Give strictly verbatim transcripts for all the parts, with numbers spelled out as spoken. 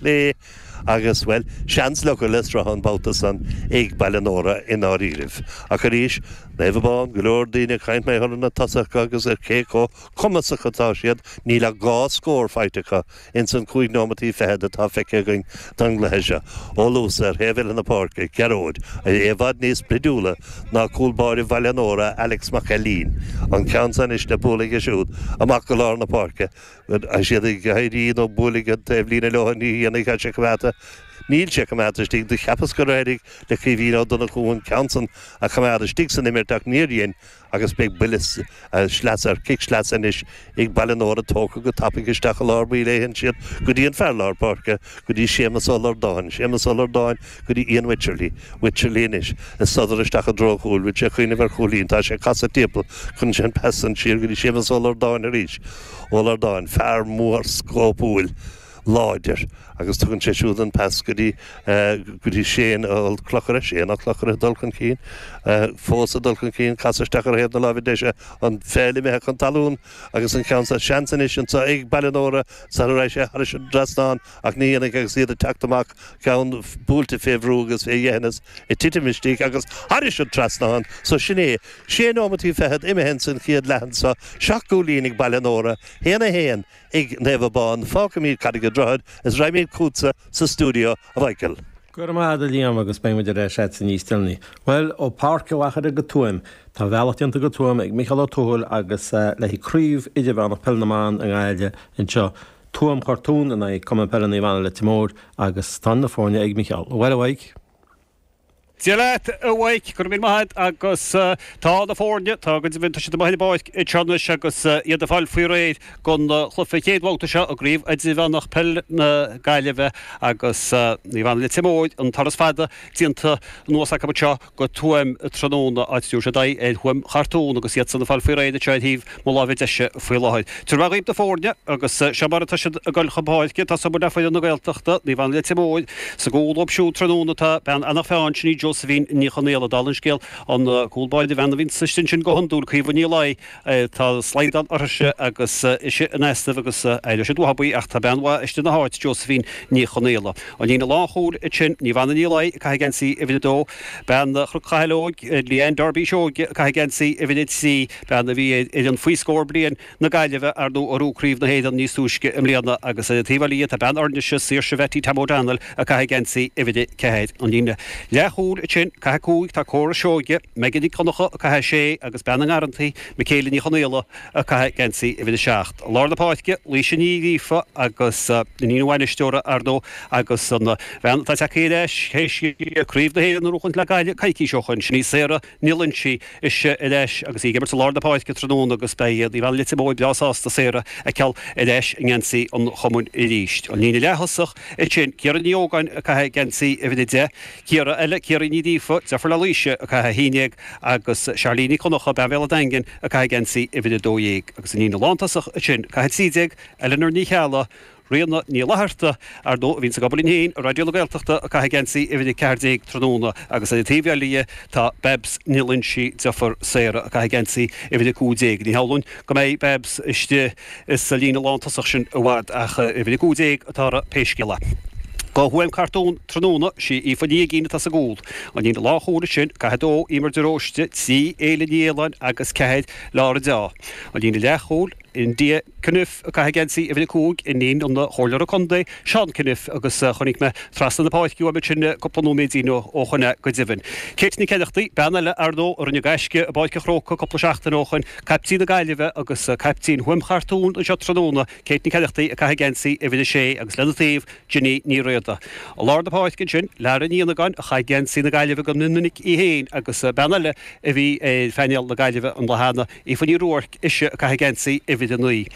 Clé agus, bhuel, seans le le sruth an babhta san ag Baile Nóra i ndáiríribh. Ach arís, Naomh Abán, go leor daoine ag caint mar na tosaithe agus ar cé chomh cumasach atá siad, níl ach dhá scór faighte acu ins an cúig nóimeataí fichead atá feicthe againn don gcluiche seo. Ó Luasa ar thaobh eile na páirce, Gearóid, é i bhfad níos breidiúla ná cúl báire Bhaile Nóra, Alex Mac Ailín. An ceann san anois le bualadh aige siúd amach go lár na páirce. Siad ag éirí nó bualadh an taobhlíne leo ní dhéanfaidh sé coimeádta. Níl sé coimeádta istigh do cheapas gur éirigh le Caoimhín Ó Donnchú an ceann san a choimeád istigh san imirt ach níor dhein agus beidh buille sleasa ar cic sleasa anois ag Baile Nóra tógtha go tapaidh isteach i lár baill é siad go dtí an fear lár páirce go dtí Séamus Ó Lordáin, Séamus Ó Lordáin go dtí Ian Wycherley, Wycherley anois ag sodar isteach i dtreo an chúil, bhfuil sé ag cuimhneamh ar chúilín, tá sé ag casadh timpeall chun sin pas an siar go dtí Séamus Ó Lordáin arís. Ó Lordáin, fear mór scópúil láidir agus tugann sé siúd an pas go dtí go dtí Shane Ó Clochaire, Shane Ó Clochaire dul chun cinn, fós ag dul chun cinn, casadh isteach ar thaobh na láimhe deise an pheil imithe chun talún agus an ceann seo seans anois anseo ag Baile Nóra sara raibh sé thar an trasnán ach ní dhéanfaidh agus iad ag teacht amach ceann buailte fé bhrú agus fé dheithneas ag titim istigh agus thairis an trasnán so sin é sé nóimeataí fichead imithe san chéad leath anseo seacht gcúilín ag Baile Nóra haon a haon ag Naomh Abán fágfaimid Carraig an Droichid is raghaimid chugatsa sa stiúideo a Mhichael. Go raibh maith agat a Liam agus beidh muid ar ais agatsa níos deireanaí. Bhuel, ó Páirc an Mhachaire go Tuaim, tá a bhealach déanta go Tuaim ag Micheál Ó Tuathail agus le haghaidh Craobh Idirmheánach Peile na mBan i nGaillimh anseo. Tuaim Chartún in aghaidh Cumann Peile Naomh Anna Leitir Móir agus tá na foirne ag Micheál. Bhuel a Mhaidhc. Dia leat, a Mhaidhc, go raibh míle maith agat agus tá na foirne, tá go deimhin, tá siad amuigh ar an bpáirc anseo anois agus iad ag fáil faoi réir don chluiche chéad bhabhta seo i gCraobh Idirmheánach Peil na Gaillimhe agus Naomh Anna Leitir Móir, an turas fada déanta anuas acu anseo go Tuaim tráthnóna, áit a dtabharfaidh siad aghaidh ar Thuaim Chartún agus iadsan ag fáil faoi réir anseo ar thaobh mo láimhe deise faoi láthair. Tabharfaidh mé dhaoibh na foirne agus seo mar atá siad ag dul chun páirce. Tosóidh muid le foireann na Gaeltachta, Naomh Anna Leitir Móir. Sa gcúl dóibh siúd tráthnóna tá bean Eanach Mheáin, sin í Josephine Ní Chonaola. Dála an scéil, an cúl báire, bean a bhíonn istigh ansin go hiondúil, Caoimhe Ní Laoi, tá slaghdán uirthise agus ise in easnamh agus éireoidh siad uathu í ach tá bean mhaith istigh ina háit, Josephine Ní Chonaola. An líne lánchúil ansin, Naomh Anna Ní Laoi ag caitheamh geansaí uimhir a dó, bean Chnoc Chathail Óig, Leanne Darby Seoige ag caitheamh geansaí uimhir a trí, bean a bhí ar fhoireann faoi scór bliain na Gaillimhe, ar ndóigh, a ghnóthaigh Craobh na hÉireann níos túisce i mbliana agus ar an taobh eile dhe tá bean Oirnise, Saoirse Bhetty Tam O'Donnell ag caitheamh geansaí uimhir a ceathair. An líne leathchúil ansin, ag caitheamh cúig, tá Córa Seoige, Megan Nic Dhonncha ag caitheamh sé agus bean na nGarrantaí, Michaela Ní Chonaola ag caitheamh geansaí uimhir a seacht. I lár na páirce, Laoise Ní Ghríofa agus iníon an bhainisteora, ar ndóigh, agus an bhean atá tagtha ar ais théis Craobh na hÉireann a ghnóthachtaint le Gaillimh coicís ó shoin, sin í Sarah Ní Loinsigh, ise ar ais agus í ag imirt i lár na páirce tráthnóna agus beidh Naomh Anna Leitir Móir breá sásta Sarah a fheiceáil ar ais i ngeansaí an chumainn arís. An líne leath-thosach ansin, Ciara Ní Ógáin ag caitheamh geansaí uimhir a deich, Ciara eile, Ciara Ní Ghríofa, deirfiúr le Laoise, ag caitheamh a haon déag agus Charlene Ní Dhonncha, bean Bhéal an Daingin, ag caitheamh geansaí uimhir a dó dhéag. Agus an líne lántosach ansin, ag caitheamh trí déag, Eleanor Ní Cheallaigh, Ríona Ní Fhlatharta, ar ndóigh, a bhíonns ag obair linn féin i Raidió na Gaeltachta, ag caitheamh geansaí uimhir a ceathair déag tráthnóna agus ar an taobh eile dhe tá Babs Ní Loinsigh, deirfiúr Sarah, ag caitheamh geansaí uimhir a cúig déag. Ní shamhlóinn go mbeidh Babs istigh sa líne lántosach sin i bhfad ach uimhir a cúig déag atá uirthi pé scéal é. Do Thuaim Chartún tráthnóna, sí Aoife Ní Uigín atá sa gcúl. An líne lánchúil ansin, ag caitheamh a dó, Emer de Róiste, trí, Éile Ní Fhaoláin agus ceathair, Laura Deá. An líne leathchúil, India Cunniffe ag caitheamh geansaí uimhir a cúig, iníon an Chomhairleora Contae, Seán Cunniffe, agus chonaic mé trasna na páirce uaim ansin cúpla nóiméidín ó shoin é go deimhin. Kate Nic Eileachtaigh, bean eile, ar ndóigh, a rinne gaisce i bPáirc an Chrócaigh cúpla seachtain ó shoin, caiptín na Gaillimhe agus caiptín Thuaim Chartún anseo tráthnóna, Kate Nic Eileachtaigh ag caitheamh geansaí uimhir a sé agus lena taobh, Ginny Ní Riada. I lár na páirce ansin, Lara Ní Fhionnagáin a chaith geansaí na Gaillimhe go minic í féin agus bean eile a bhí ar phainéal na Gaillimhe an lá cheana, Aoife Ní Ruairc, ise ag caitheamh geansaí uimhir a naoi.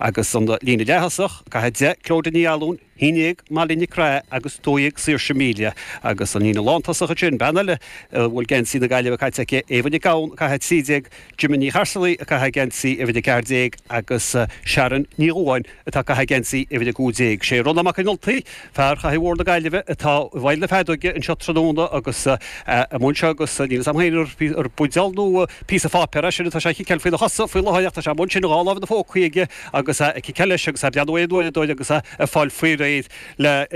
Agus an líne leath-thosach, ag caitheamh deich, Clodagh Ní Fhallúin, haon déag, Molly Nic Craith agus dó dhéag, Saoirse Melia. Agus an líne lántosach ansin, bean eile a bhfuil geansaí na Gaillimhe caite aici, Éabha Nic Gabhann, ag caitheamh trí déag, Gemma Ní Charsaigh ag caitheamh geansaí uimhir a ceathair déag agus Sharon Ní Dhubháin atá ag caitheamh geansaí uimhir a cúig déag. Sé Rónán Mac Aonghusa, fear Chathair Mhór na Gaillimhe, atá i bhfeighil na feadóige anseo tráthnóna agus é amuigh anseo agus níl fhios a'm féin ar buidéal nó píosa pháipéir é sin atá sé a chiceáil faoina chosa faoi láthair ach tá sé amuigh ansin, dhá lámh ina phócaí aige agus é ag ciceáil leis agus é ag breathnú ar an uaireadóir agus é ag fáil faoi réir. réir le